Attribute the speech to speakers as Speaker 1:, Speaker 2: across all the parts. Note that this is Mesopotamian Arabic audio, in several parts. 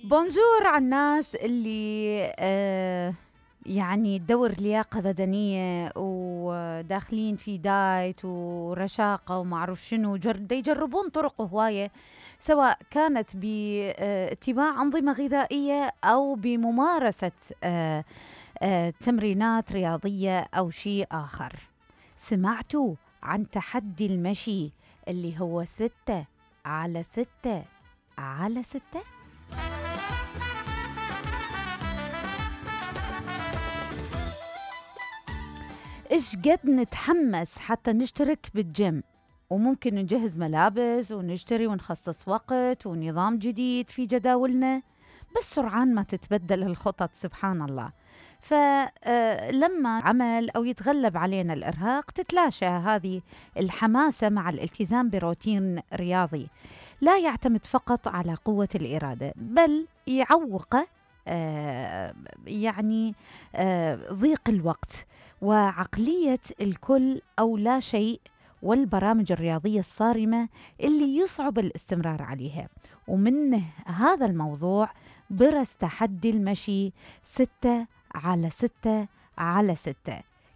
Speaker 1: بونجور على الناس اللي يعني تدور لياقة بدنية وداخلين في دايت ورشاقة وما أعرف شنو، يجربون طرق هواية، سواء كانت باتباع أنظمة غذائية أو بممارسة تمرينات رياضية أو شيء آخر. سمعتوا عن تحدي المشي اللي هو 6x6 إيش قد نتحمس حتى نشترك بالجيم، وممكن نجهز ملابس ونشتري ونخصص وقت ونظام جديد في جداولنا، بس سرعان ما تتبدل الخطط سبحان الله. فلما عمل أو يتغلب علينا الإرهاق تتلاشى هذه الحماسة مع الالتزام بروتين رياضي لا يعتمد فقط على قوة الإرادة، بل يعوق ضيق الوقت وعقلية الكل أو لا شيء، والبرامج الرياضية الصارمة اللي يصعب الاستمرار عليها. ومن هذا الموضوع برز تحدي المشي 6x6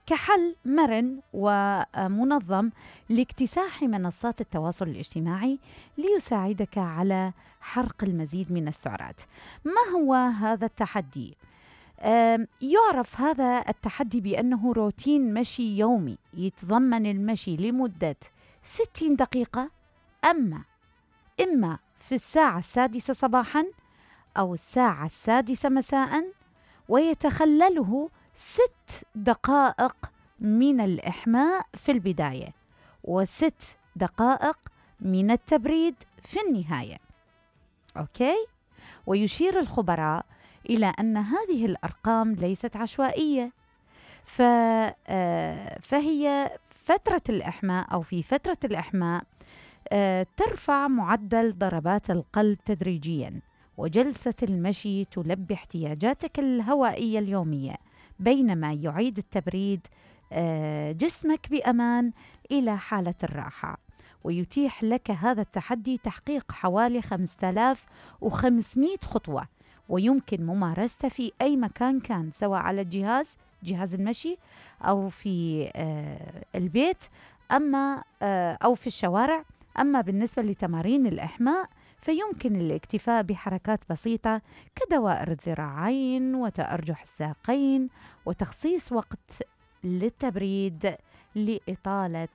Speaker 1: كحل مرن ومنظم لاكتساح منصات التواصل الاجتماعي ليساعدك على حرق المزيد من السعرات. ما هو هذا التحدي؟ يعرف هذا التحدي بأنه روتين مشي يومي يتضمن المشي لمدة 60 دقيقة، إما في الساعة 6 صباحاً أو الساعة 6 مساءً، ويتخلله 6 دقائق من الإحماء في البداية و6 دقائق من التبريد في النهاية. أوكي؟ ويشير الخبراء إلى أن هذه الأرقام ليست عشوائية، فهي فترة الإحماء أو في فترة الإحماء ترفع معدل ضربات القلب تدريجياً، وجلسة المشي تلبي احتياجاتك الهوائية اليومية، بينما يعيد التبريد جسمك بأمان إلى حالة الراحة. ويتيح لك هذا التحدي تحقيق حوالي 5500 خطوة، ويمكن ممارسته في أي مكان كان، سواء على جهاز المشي أو في البيت أو في الشوارع. أما بالنسبة لتمارين الإحماء فيمكن الاكتفاء بحركات بسيطة كدوائر الذراعين وتأرجح الساقين، وتخصيص وقت للتبريد لإطالة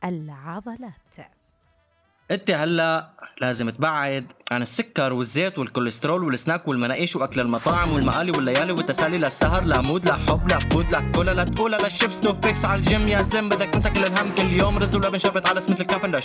Speaker 1: العضلات.
Speaker 2: انت هلا لازم تبعد عن السكر والزيت والكوليسترول والسناك والمناقيش واكل المطاعم والمقالي والليالي والتسالي، للسهر لا مود لا حب لا فود لا كولا لا تقولا لا شيبس تو فيكس على الجيم يا سلم، بدك تنسى كل الهم كل يوم رز ولبن شربت على سمة الكافن لا شيء